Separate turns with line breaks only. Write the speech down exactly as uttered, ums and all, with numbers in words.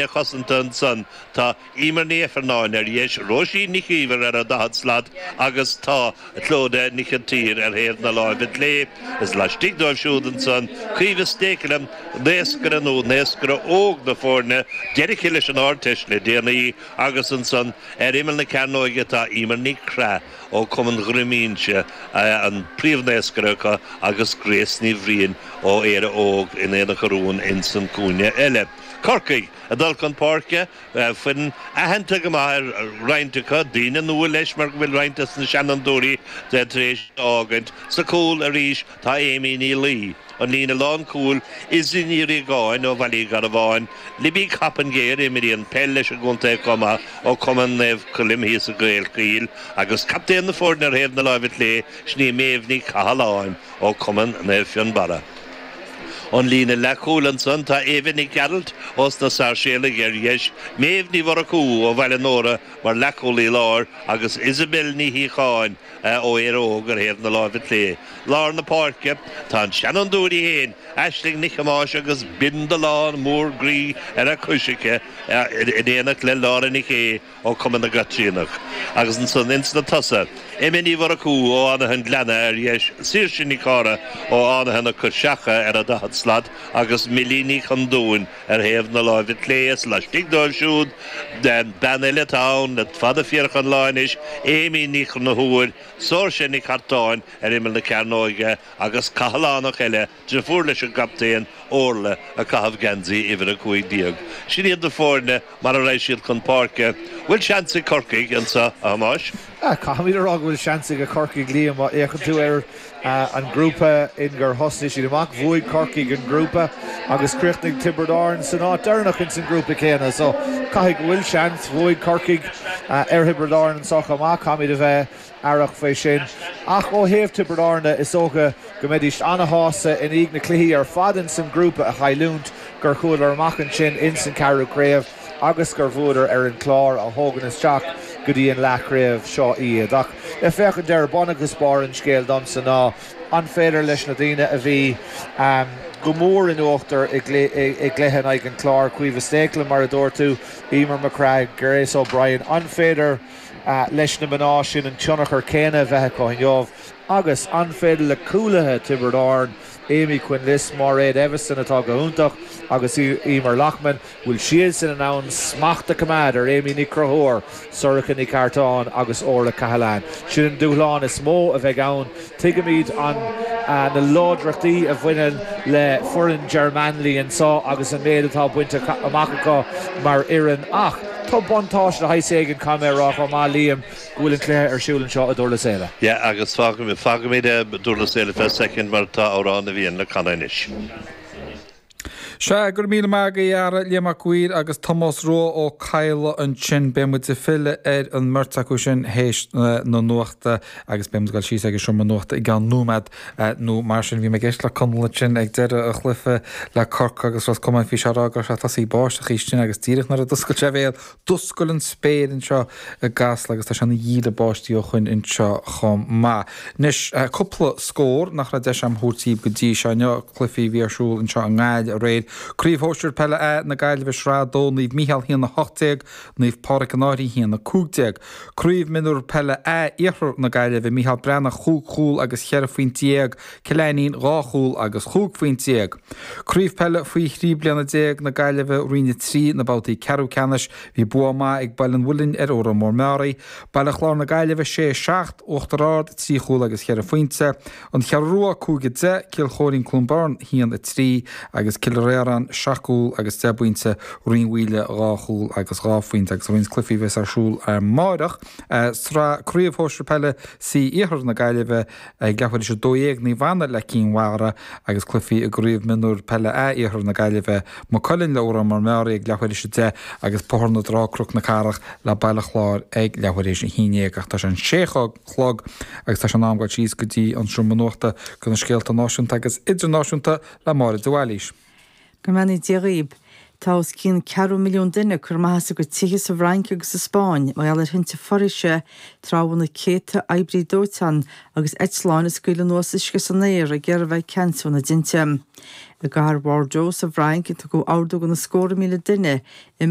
Cosanta ansan tá Emer Ní Ifearnáin ar dheis, Róisín Nic Íomhair ar an daichead slat agus tá Clodagh Nic an tSaoir ar thaobh na láimhe clé. Is laistigh dóibh siúd ansan Caoimhe Stakelum, naoscaire nó naoscaire óg na foirne, d'éirigh leis an Ardteist le déanaí agus ansan ar imeall na cearnóige tá Emer Ní Chraith ó Cumann Dhroim Inse, an príomhnaoscaire acu agus Grace Ní Bhriain ó Éire Óg in Aonach Urmhumhan insan cúinne eile. Corcaigh ag dul chun páirce, foireann aitheanta go maith ar roinnt acu, daoine nua leis mar go bhfuil roinnt des na seanfhondúirí tar éis fhágaint. Sa chúl arís tá Amy Ní Laoi, an líne lánchúil, Izzy Ní Riagáin ó Bhaile Uí Gharbháin, Libby Coppinger, a imríonn peil leis an gcontae chomh maith, ó Chumann Naomh Coilm thíos i gCaolchoill, agus captaen na foirne ar thaobh na láimhe clé, sin í Méabh Ní Chathalláin ó Chumann Naomh Fionnbarra. An líne leathchúil ansan tá Éabha Nic Gearailt ós na Sáirséalaigh ar dheis, Méabh Ní Mhurchú ó Bhaile Nóra mar leathchúlaí láir agus Isabel Ní Shíocháin ó Éire Óg ar thaobh na láimhe clé. Lár na páirce tá an seanfhondúir í féin, Aisling Nic Thomáis agus bindealán mór groí ar a cois aici in éineacht le Laura Nic Aodha ó Chumann na gCaitríonach. Agus ansan ins na tosaithe, Emma Ní Mhurchú ó Fhánaithe an Ghleanna ar dheis, Saoirse Nic Cára ó Fhánaithe na Coiseacha ar an daichead slat agus Millie Ní Chondúin ar thaobh na láimhe clé. Is laistigh dóibh siúd, bean eile atá ann le fada fíorach an lá anois, Amy Ní Chonchúir, Saoirse Nic Artáin ar imeall na cearnóige agus Cathalánach eile, deirfiúr leis an gcaptaen, Orla, ag caitheamh geansaí uimhir a cúig déag. Sin iad na foirne mar a raghaidh siad chun páirce. Bhfuil seans ag Corcaigh anseo, a Thomáis?
Caithfimid a rá go bhfuil seans ag Corcaigh, Liam. Má fhéachann tú ar an ngrúpa in gur thosnaigh siad amach, bhuaigh Corcaigh an grúpa agus chríochnaigh Tiobraid Árann san áit deireanach ins an grúpa céanna. So caithfidh go bhfuil seans. Bhuaigh Corcaigh ar Thiobraid Árann anseo chomh maith. Caithfimid a bheith aireach faoi sin. Ach ó thaobh Tiobraid Árann de, is dócha go mbeidís ana-shásta i ndiaidh na cluichí ar fad ins an grúpa a chailliúint, gur chuadar amach ansin ins an ceathrú craobh agus gur bhuadar ar an Clár a thógann isteach go dtí an leathchraobh seo iad. Ach le féachaint air, bun agus barr an scéil domsa ná an féidir leis na daoine a bhí go mór in uachtar i gcluiche in aghaidh an Chláir, Caoimhe Stakelum mar a dúirt tú, Emer McCragg, Grace O'Brien, an féidir leis na mná sin an tionchar céanna a bheith acu inniu agus an féidir le cúlaithe Tiobraid Árann, Amy Quinlisk, Máiréad Eviston atá go hiontach agus Emer Loughman, bhfuil siadsan in ann smacht a choimeád ar Amy Ní Chonchúir, Sorcha Nic Artáin agus Orla Cahalane. Sin an dúshlán is mó a bheidh ann. Tuigimid an na láidreachtaí a bhaineann le foireann Ger Manley anseo agus an méid atá bainte amach acu mar fhoireann ach tá buntáiste de shaghas éigin, caithfidh mé a rá chomh maith, Liam, go bhfuil an cluiche ar siúl anseo i Durlas Éile.
Yeah, agus fágfaimid Durlas Éile fé soicind mar tá Amhrán na bhFiann le canadh anois.
Sea, go raibh míle maith agaibh a fheara, Liam Mac Uidhir agus Tomás Rua Ó Cadhla ansin. Beidh muid ag filleadh ar an mbeirt acu sin théis na nuachta agus beidh muid ag dul síos ag an seomra nuachta i gceann nóiméad nó mar sin. Bhí mé ag éisteacht le Conall ansin ag deireadh an chluiche le Corcaigh agus Ros Comáin, bhí sé ag rá go raibh sé ag tosaí báisteach ansin agus díreach nuair a d'oscail sé a bhéal D'oscail an spéir anseo i gCasla agus tá sé ina dhíle báistí ó shoin anseo chomh maith. Anois, cúpla scór nach raibh deis agam a thabhairt daoibh go dtí seo inniu, cluichí a bhí ar siúl anseo i nGaillimh aréir. Craobh Shóisir Peile A na Gaillimhe Sraith a dó, Naomh Mícheál a haon a hocht déag, Naomh Pádraig an Fhairche a haon a cúig déag. Craobh Mionúr Peile A Iarthar na Gaillimhe, Mícheál Breathnach chúig chúl agus cheithre phointe déag, Cill Ainnín dhá chúl agus chúig phointe déag. Craobh Peile faoi thrí bliana déag na Gaillimhe, Roinn a trí, na babhtaí ceathrú ceannais, bhí bua maith ag Baile an Mhuilinn ar Órán Mór Meáraí, Baile Chláir na Gaillimhe sé, seacht, Uachtar Ard trí chúl agus cheithre phointe, An Cheathrú Rua cúig a deich, Cill Chóirín Cluain Bheirn haon a trí agus Cill Réaráin seacht gcúl agus deich bpointe, Rinn Mhaoile dhá chúl agus dhá phointe agus roinnt cluichí a bheas ar siúl amáireach. Sraith Craobh Shóisir Peile C Iarthar na Gaillimhe, Ag leathuair théis a dó dhéag, Naomh Anna le Cinn Mhara agus cluichí i gCraobh Mionúir Peile A Iarthar na Gaillimhe, Maigh Cuilinn le Órán Mór Meáraí ag leathuair théis a deich agus Bóthar na Trá Cnoc na Cathrach le Baile Chláir ag leathuair théis a haon déag. Ach tá sé an sé chlog agus tá sé in am dul síos go dtí an seomra nuachta do na scéalta náisiúnta agus idirnáisiúnta le Máire de Bhailís.
Go mbeannaí Dia dhaoib. Tá os cionn ceathrú milliún duine curtha amach as a gcuid tithe sa bhFrainc agus sa Spáinn mar gheall ar thinte foraoise tráth a bhfuil na céadta oibrí dóiteáin agus eitleáin ag scaoileadh anuas uisce san aer ag iarraidh a bheith ag ceansú na dtinte. I gcathair Bhordeaux sa bhFrainc tugadh ordú do na scórtha míle duine imeacht